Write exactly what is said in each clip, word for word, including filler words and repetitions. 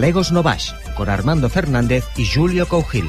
Galegos no Baix, con Armando Fernández y Julio Cougil.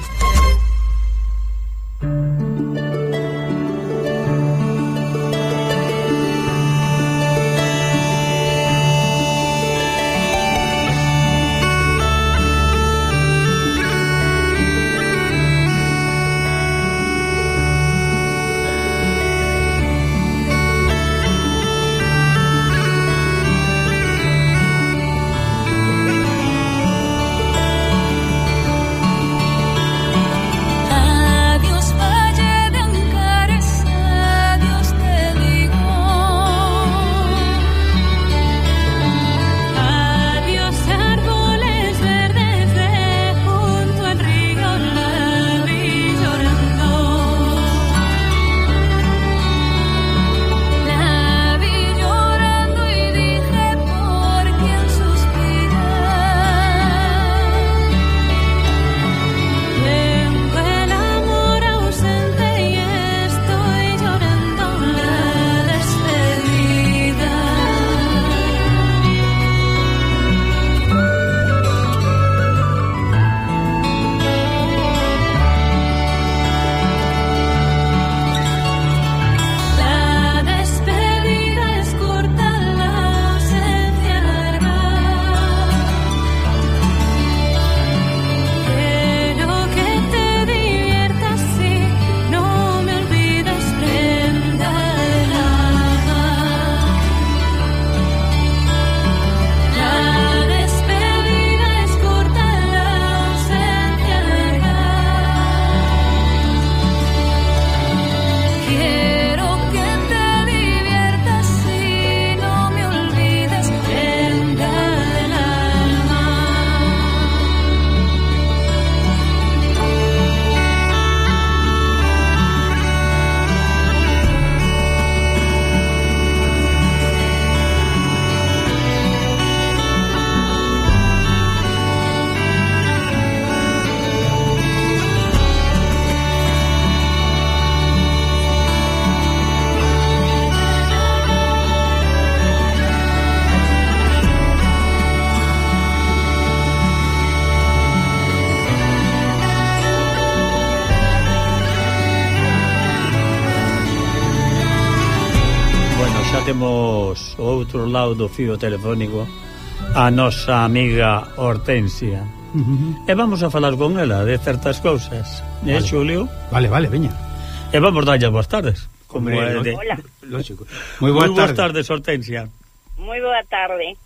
Temos o outro lado do fío telefónico a nosa amiga Hortensia. Uh-huh. E vamos a falar con ela de certas cousas. Vale. Eh, Xulio? Vale, vale, veña. E vamos darlle boas tardes. Como é de... Hola. Lógico. Moi boas tardes. tarde. tardes, Hortensia. Moi boa tarde.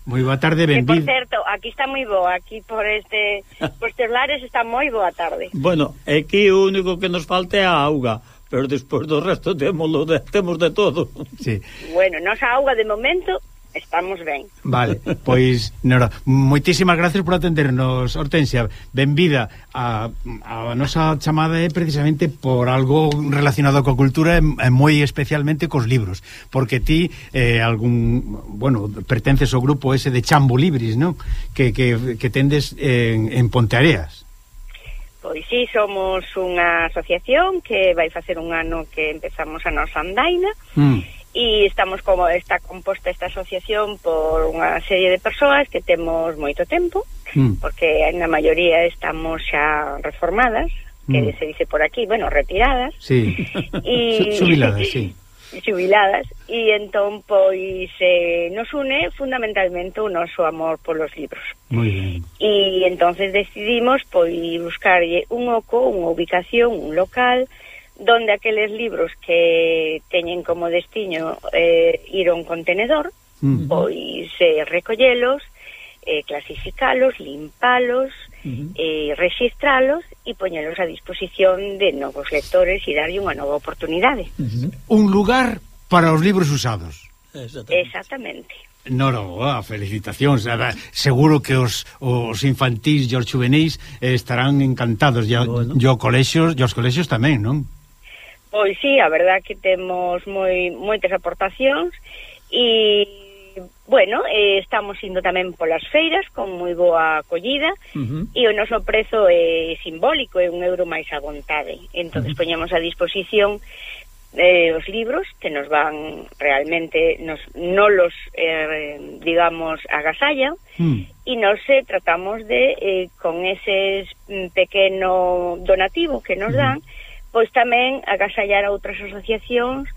Moi boa tarde, benvido. Por certo, aquí está moi boa, aquí por este por estes lares está moi boa tarde. Bueno, aquí o único que nos falta é a auga, pero despois do resto temos de, temos de todo. Sí. Bueno, nosa auga de momento estamos ben. Vale, pois, Nora, moitísimas gracias por atendernos, Hortensia. Benvida. A, a nosa chamada é precisamente por algo relacionado coa cultura e, e moi especialmente cos libros, porque ti eh, algún, bueno, pertences ao grupo ese de Chambo Libris, non? Que, que, que tendes en, en Ponteareas. Pois sí, somos unha asociación que vai facer un ano que empezamos a nosa andaina. Mm. E estamos como está composta esta asociación por unha serie de persoas que temos moito tempo, mm. porque na maioría estamos xa reformadas, que mm. se dice por aquí, bueno, retiradas. Sí. Y xubiladas, sí. Xubiladas, e entón pois eh, nos une fundamentalmente o noso amor polos libros. Moi ben. E entonces decidimos pois buscarlle un oco, unha ubicación, un local donde aqueles libros que teñen como destiño eh, ir a un contenedor, uh-huh. pois eh, recollelos, eh, clasificalos, limpalos, uh-huh. eh, registralos e poñelos a disposición de novos lectores e darlle unha nova oportunidade. Uh-huh. Un lugar para os libros usados. Exactamente. Exactamente. Nora, oh, felicitacións. Seguro que os, os infantís e os juvenis eh, estarán encantados. E bueno. os colexios, e os colexios tamén, non? Pois sí, a verdad que temos moi moitas aportacións e, bueno, eh, estamos indo tamén polas feiras con moi boa acollida, uh-huh. e o noso prezo é simbólico, é un euro máis a vontade. Entón, uh-huh. poñemos a disposición eh, os libros que nos van realmente, nos, no los, eh, digamos, agasallan, mm. e nos eh, tratamos de, eh, con ese pequeno donativo que nos dan, mm. pois tamén agasallar a outras asociacións,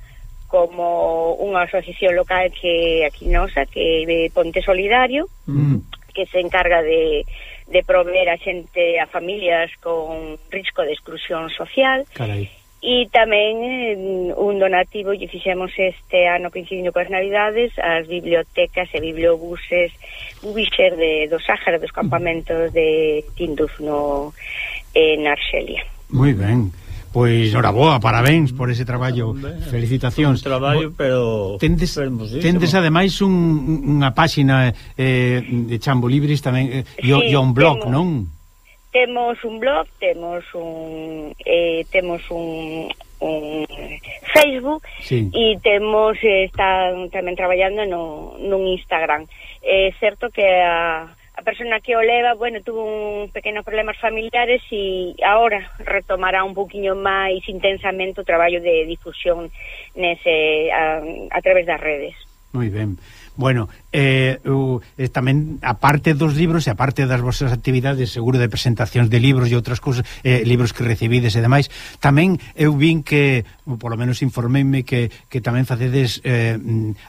como unha asociación local que aquí nosa, que é Ponte Solidario, mm. que se encarga de, de proveer a xente, a familias con risco de exclusión social. Carai. E tamén eh, un donativo lle fixemos este ano coincidindo coas Navidades as bibliotecas e bibliobuses Ubixer de, do Sáhara, dos campamentos de Tinduf no, en Arxelia. Moi ben. Pois, noraboa, parabéns por ese traballo. Felicitacións. Un traballo, pero tendes, tendes ademais un, unha páxina eh, de Chambo Libris tamén, e eh, sí, un blog, temos, non? Temos un blog, temos un eh, temos un, un Facebook, sí. E temos, eh, están tamén traballando no, nun Instagram. É eh, certo que a A persona que o leva, bueno, tuvo un pequenos problemas familiares e agora retomará un poquinho máis intensamente o traballo de difusión nese a, a través das redes. Moi ben. Bueno, eh, uh, eh, tamén, aparte dos libros e aparte das vosas actividades, seguro de presentacións de libros e outras cousas, eh, libros que recibides e demais, tamén eu vin que, polo menos informeime que, que tamén facedes eh,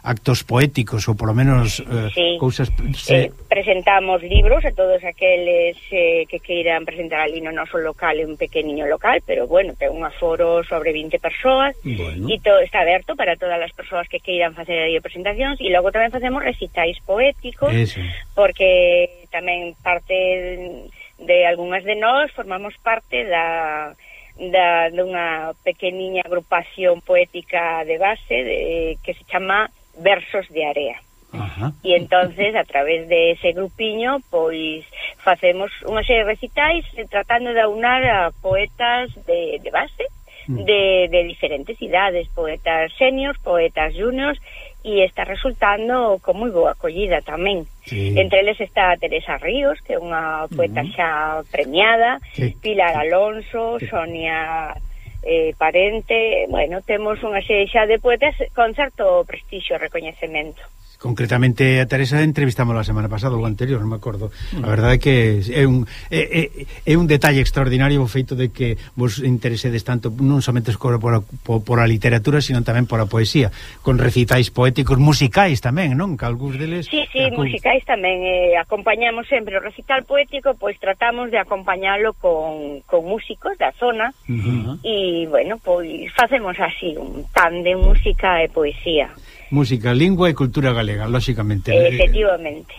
actos poéticos, ou polo menos eh, sí. cousas... Se... Eh, presentamos libros a todos aqueles eh, que queiran presentar ali no noso local, un pequeniño local, pero bueno, ten un aforo sobre vinte persoas, bueno. E todo está aberto para todas as persoas que queiran facer aí presentacións, e logo tamén facemos recitais poéticos. Eso. Porque tamén parte de, de algunhas de nós formamos parte da, da dunha pequeniña agrupación poética de base de, que se chama Versos de Area. Ajá. E entonces a través de ese grupiño pois facemos unha serie de recitais eh, tratando de aunar a poetas de, de base mm. de, de diferentes idades, poetas seniors, poetas juniors, e está resultando con moi boa acollida tamén. Sí. Entre eles está Teresa Ríos, que é unha poeta uh-huh. xa premiada, sí. Pilar Alonso, sí. Sonia eh, Parente, bueno, temos unha serie xa de poetas con certo prestixio e recoñecemento. Concretamente a Teresa entrevistamos a semana pasada, o anterior, non me acordo. A verdade é que é un é, é, é un detalle extraordinario o feito de que vos interesedes tanto non somente por, por, por a literatura, sino tamén por a poesía, con recitais poéticos, musicais tamén, non? Que algúns deles... Sí, sí, algún... musicais tamén. Eh, acompañamos sempre o recital poético, pois tratamos de acompañalo con, con músicos da zona, uh-huh. E, bueno, pois facemos así un tándem música e poesía. Música, lingua e cultura galega, lóxicamente. Efectivamente.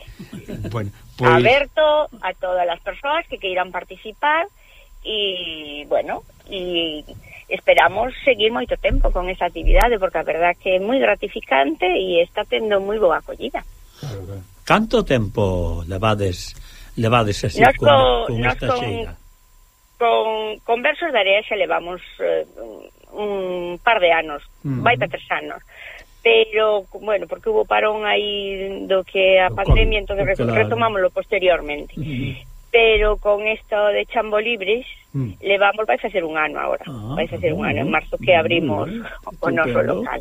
Bueno, pues... Aberto a todas as persoas que queiran participar e, bueno, e esperamos seguir moito tempo con esa actividade, porque a verdad que é moi gratificante e está tendo moi boa acollida. Claro, claro. Canto tempo levades levades así con, con, con esta con, xeira? Con, con Versos de Area xa levamos eh, un par de anos, uh-huh. Vai para tres anos. Pero, bueno, porque hubo parón aí do que a pandemia, entón claro. Retomámoslo posteriormente. Uh-huh. Pero con esto de Chambo Libris, uh-huh. levamos, vai a ser un ano agora, ah, vai a ser un ano, en marzo que abrimos uh-huh. o noso local.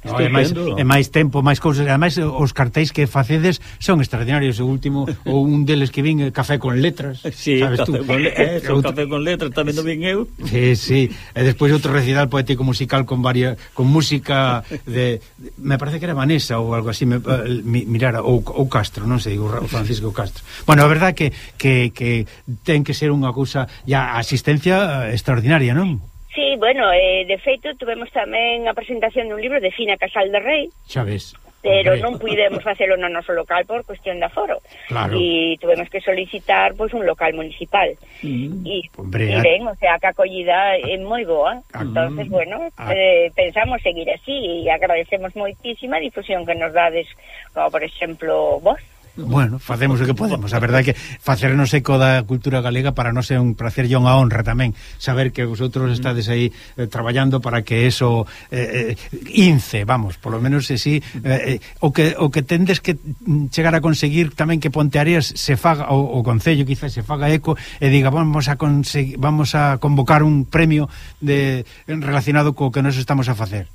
No, é máis, é máis tempo, máis cousas. Ademais, os cartéis que facedes son extraordinarios. O último, ou un deles que vin, Café con Letras. Sí, sabes café, tú? Con le eh, outro... Café con Letras, tamén non vin eu. Sí, sí. E despois outro recital poético musical con varia, con música de, de me parece que era Vanessa ou algo así, me, mi, mirara, ou, ou Castro, non sei, o Francisco Castro. Bueno, a verdade que, que, que ten que ser unha cousa, ya asistencia extraordinaria, non? Sí, bueno, eh, de feito, tuvemos tamén a presentación dun libro de Fina Casal de Rei. Xa ves. Pero non pudemos facelo no noso local por cuestión de aforo. Claro. E tuvemos que solicitar pois un local municipal. Mm. E, Hombre, e ben, o sea, que a acollida é moi boa. Ah, entonces, bueno, ah. eh, pensamos seguir así e agradecemos moitísima a difusión que nos dades, como por exemplo, vos. Bueno, facemos o que podemos. A verdade é que facernos eco da cultura galega para non ser un placer e unha honra tamén saber que vosotros estades aí eh, traballando para que eso eh, eh, ince, vamos, por lo menos así eh, eh, o que o que tendes que chegar a conseguir tamén que Ponteareas se faga, o, o Concello quizás se faga eco e diga, vamos a conseguir, vamos a convocar un premio de relacionado co que nos estamos a facer.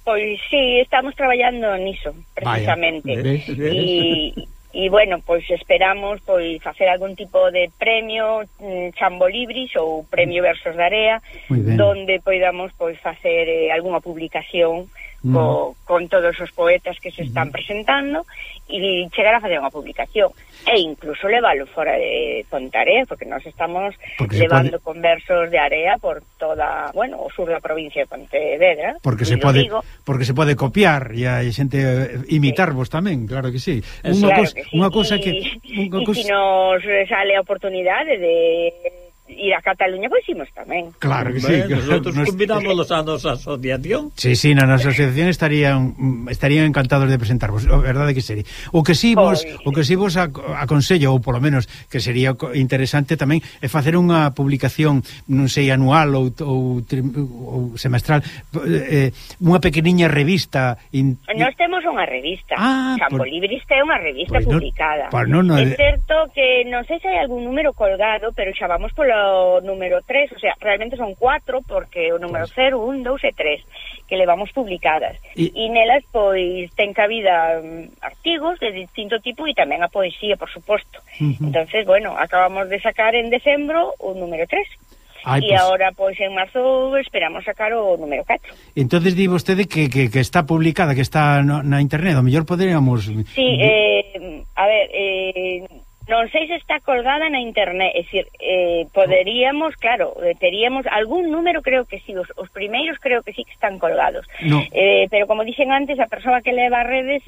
Pois sí, estamos traballando niso, precisamente. E E, bueno, pois esperamos pois facer algún tipo de premio mm, Chambo Libris ou premio Versos da Area, donde poidamos pois facer eh, algunha publicación mm. co, con todos os poetas que se están mm. presentando e chegar a facer unha publicación e incluso leválo fora de Pontarea, porque nós estamos porque levando pode... con versos de Area por toda, bueno, o sur da provincia de Pontevedra. Porque se pode digo. porque se pode copiar e hai xente imitarvos sí. tamén, claro que sí. Unha claro cosa, que sí. unha cosa que e cosa... si nos sale a oportunidade de ir a Cataluña, pois imos tamén. Claro que sí. Bueno, nosotros nos... convidamos a nosa asociación. Sí, sí, na nosa asociación estarían estarían encantados de presentarvos, a verdade que sería. O que si vos, pois... o que si vos aconsello, ou polo menos que sería interesante tamén, é facer unha publicación, non sei, anual ou, ou, ou semestral, eh, unha pequeniña revista. In... Nós temos unha revista. Ah, Chambo por... Libris é unha revista pues publicada. No, no, no, é certo que non sei se hai algún número colgado, pero xa vamos polo o número tres, o sea, realmente son cuatro porque o número pues... cero, un, dous e tres que levamos publicadas e y... nelas pois ten cabida um, artigos de distinto tipo e tamén a poesía, por suposto. Uh -huh. Entonces, bueno, acabamos de sacar en decembro o número tres. Ai, e pues... agora, pois, en marzo esperamos sacar o número catro. Entonces di vostede que, que, que está publicada, que está no, na internet, o mellor poderíamos... Sí, eh, a ver, eh... non sei se está colgada na internet, é dicir, eh, poderíamos, claro, teríamos algún número, creo que sí, os, os primeiros creo que sí que están colgados. No. Eh, pero como dixen antes, a persoa que leva redes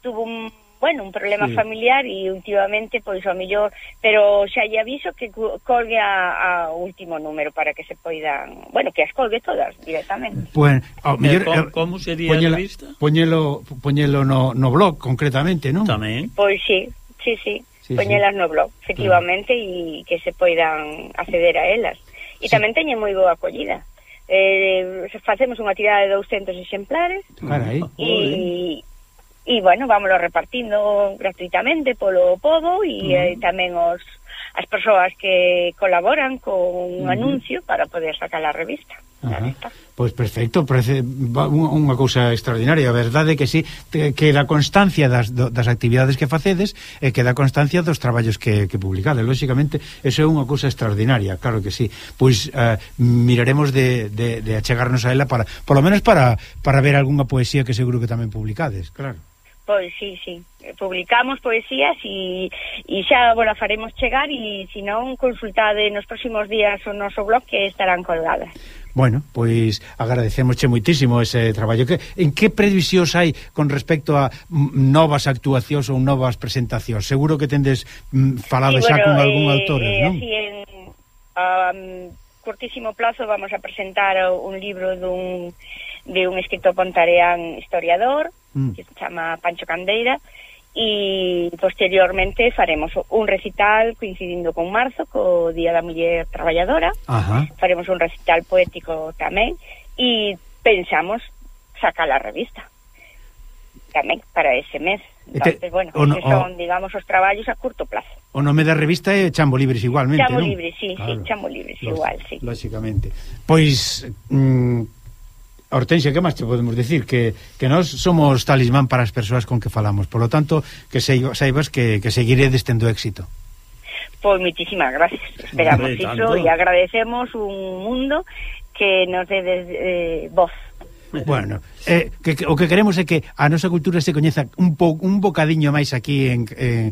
tuvo un, bueno, un problema sí. familiar e últimamente, pois, ao mellor, pero xa lle aviso que colgue a, a último número para que se poidan, bueno, que as colgue todas directamente. Bueno, ao mellor, eh, como sería poñela, a revista? Poñelo, poñelo no, no blog, concretamente, non? Tamén. Pois sí, sí, sí. Sí, poñelas sí. no blog, efectivamente, e claro. que se poidan acceder a elas. E sí. tamén teñen moi boa acollida. Eh, facemos unha tirada de douscentos exemplares e, e, bueno, vámoslo repartindo gratuitamente polo pobo e uh -huh. eh, tamén os as persoas que colaboran con un uh -huh. anuncio para poder sacar a revista. Pois pues perfecto, parece unha cousa extraordinaria. A verdade é que sí, que da constancia das, das actividades que facedes e que da constancia dos traballos que, que publicades. Lóxicamente, eso é unha cousa extraordinaria, claro que sí. Pois uh, miraremos de, de, de achegarnos a ela para, por lo menos para, para ver algunha poesía que seguro que tamén publicades, claro. Pois sí, sí, publicamos poesías e, e xa, bueno, faremos chegar e se non, consultade nos próximos días o noso blog que estarán colgadas. Bueno, pois agradecemosche moitísimo ese traballo. Que, en que previsións hai con respecto a novas actuacións ou novas presentacións? Seguro que tendes mm, falado sí, xa bueno, con algún eh, autor, eh, non? Así en um, curtísimo plazo vamos a presentar un libro dun, de un escritor pontareán historiador mm. que se chama Pancho Candeira, e posteriormente faremos un recital coincidindo con marzo, co Día da Muller Traballadora. Ajá. Faremos un recital poético tamén e pensamos sacar a revista tamén para ese mes. Entonces, te, bueno, no, son, o, digamos, os traballos a curto plazo. O nome da revista é Chambo Libris igualmente, Chambo non? Libris, sí, claro. sí, Chambo Libris igual, sí. Lóxicamente. Pois... Mm, Hortensia, que máis te podemos decir? Que, que nós somos talismán para as persoas con que falamos. Por lo tanto, que saibas que, que seguiredes tendo éxito. Pois moitísimas gracias. Esperamos iso e agradecemos un mundo que nos dé eh, voz. Bueno, eh, que, que, o que queremos é que a nosa cultura se coñeza un, po, un bocadiño máis aquí en, eh,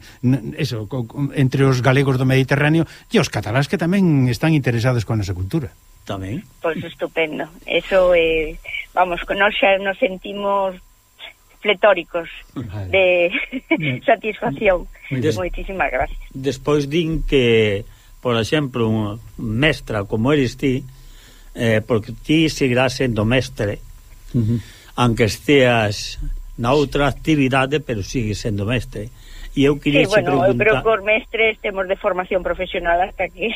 eso, co, entre os galegos do Mediterráneo e os catalás que tamén están interesados con a nosa cultura. Tamén. Pois estupendo. Eso, eh, vamos, nós xa nos sentimos pletóricos de satisfacción. Des, Moitísimas gracias. Despois din que, por exemplo, un mestra como eres ti, eh, porque ti seguirás sendo mestre, uh -huh. aunque esteas na outra actividade, pero sigues sendo mestre. E eu queria sí, bueno, preguntar... pero cos mestres temos de formación profesional hasta que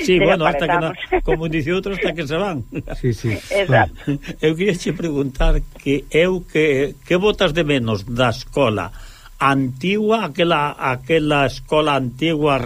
sí, bueno, hasta que na, como dice outro, hasta que se van. Sí, sí. Exacto. Eu queria che preguntar que eu que, que botas de menos da escola antigua, aquela, aquela escola antigua